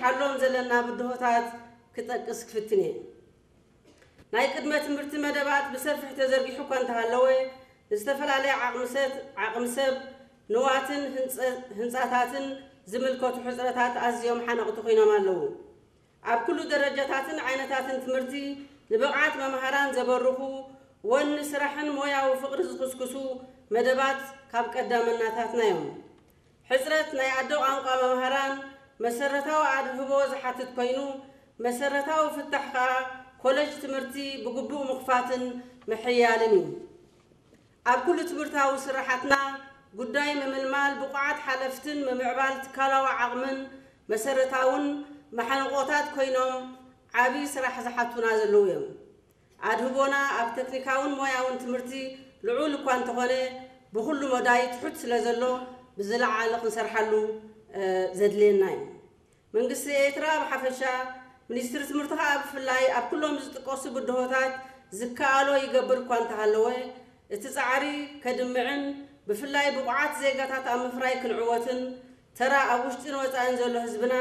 ሓሎም ዘለና ብድሆታት ክጠቅስ ክፍትን እየ። ናይ ቅድመ ትምህርቲ መደባት ብሰፊሕ ተዘርጊሑ እኳ እንተሃለወ፣ ዝተፈላለየ ዓቕሚ ሰት- ዓቕሚ ሰብ፣ ንዋትን ህንፀ- ህንፃታትን ዝምልከቱ ሕፅረታት ኣዝዮም ሓነቕቲ ኮይኖም ኣለዉ። ኣብ ኩሉ ደረጃታትን ዓይነታትን ትምህርቲ ንብቕዓት መምሃራን ዘበርኹ፣ ወኒ ስራሕን ሞያዊ ፍቕሪ ዝኽስክሱ መደባት ካብ ቀዳመናታትና እዮም። ሕፅረት ናይ ኣደ ቋንቋ መምሃራን መሰረታዊ ኣድህቦ ዝሓትት ኮይኑ፣ መሰረታዊ ፍታሕ ከኣ ኮለጅ ትምህርቲ ብግቡእ ምኽፋትን ምሕያልን እዩ። ኣብ ኩሉ ትምህርታዊ ስራሓትና ጉዳይ ምምልማል ብቑዓት ሓለፍትን ምምዕባል ትካላዊ ዓቕምን መሰረታውን ማሓንቆታት ኮይኖም ዓቢ ስራሕ ዝሓቱና ዘለዉ እዮም። ኣድህቦና ኣብ ተክኒካውን ሞያውን ትምህርቲ ልዑል እኳ እንተኾነ፣ ብኹሉ መዳይ ትሑት ስለ ዘሎ ብዝለዓለ ክንሰርሓሉ ዘድልየና እዩ። መንግስቲ ኤርትራ ብሓፈሻ፣ ሚኒስትሪ ትምህርቲ ከኣ ብፍላይ ኣብ ኩሎም ዝጥቀሱ ብድሆታት ዝከኣሎ ይገብር እኳ እንተሃለወ፣ እቲ ጻዕሪ ከድምዕን ብፍላይ ብቑዓት ዜጋታት ኣብ ምፍራይ ክንዕወትን ተራ ኣብ ውሽጥን ወጻእን ዘሎ ህዝብና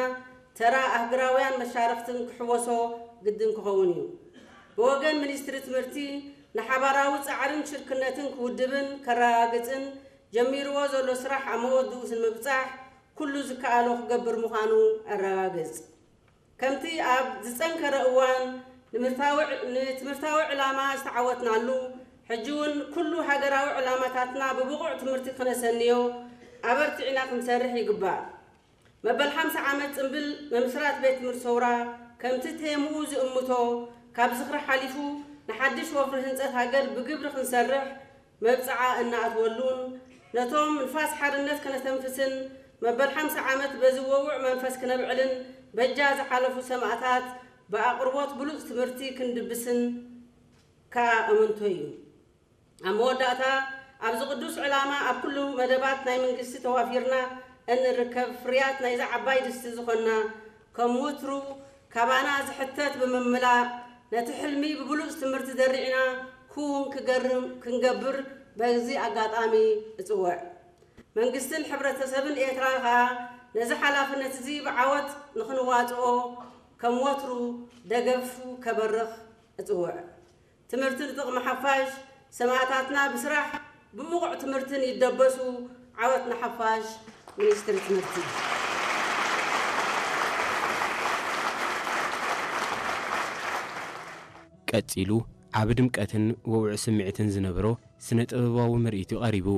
ተራ ኣህግራውያን መሻርኽትን ክሕወሶ ግድን ክኸውን እዩ። ብወገን ሚኒስትሪ ትምህርቲ ንሓባራዊ ጻዕርን ሽርክነትን ክውድብን ከረጋግጽን ጀሚርዎ ዘሎ ስራሕ ኣብ መወድኡ ንምብጻሕ ኩሉ ዝከኣሎ ክገብር ምዃኑ ኣረጋግጽ። ከምቲ ኣብ ዝጸንከረ እዋን ንምርታዊ- ንትምህርታዊ ዕላማ ዝተዓወትናሉ፣ ሕጂ እውን ኩሉ ሃገራዊ ዕላማታትና ብብቑዕ ትምህርቲ ክነሰንዮ ኣበርቲዕና ክንሰርሕ ይግባእ። መበል ሓምሳ ዓመት ጽምብል ምምስራት ቤት ትምህርቲ ሰውራ ከምቲ ቴምኡ ዝእምቶ ካብ ዝኽሪ ሓሊፉ ንሓድሽ ወፍሪ ህንጸት ሃገር ብግብሪ ክንሰርሕ መብጽዓ እናኣትወሉን ነቶም ንፋስ ሓርነት ከነተንፍስን መበል ሓምሳ ዓመት በዚ ወውዕ መንፈስ ክነብዕልን በጃ ዝሓለፉ ሰማእታት ብኣቕርቦት ብሉጽ ትምህርቲ ክንድብስን ከኣ እምንቶ እዩ። ኣብ መወዳእታ ኣብዚ ቅዱስ ዕላማ ኣብ ኩሉ መደባት ናይ መንግስቲ ተዋፊርና እንርከብ ፍርያት ናይዛ ዓባይ ድስቲ ዝኾንና ከም ወትሩ ካባና ዝሕተት ብምምላእ ነቲ ሕልሚ ብብሉጽ ትምህርቲ ዘሪዕና ክውን ክገርም ክንገብር በዚ ኣጋጣሚ እጽውዕ። መንግስትን ሕብረተሰብን ኤርትራ ከኣ ነዚ ሓላፍነት እዚ ብዓወት ንኽንዋጽኦ ከም ወትሩ ደገፉ ከበርኽ እጽውዕ። ትምህርቲ ንጥቕሚ ሓፋሽ፣ ሰማእታትና ብስራሕ ብብቑዕ ትምህርትን ይደበሱ። ዓወት ንሓፋሽ። ሚኒስትሪ ትምህርቲ። ቀጺሉ ዓቢ ድምቀትን ወውዒ ስምዒትን ዝነበሮ ስነ ጥበባዊ ምርኢት እዩ ቀሪቡ።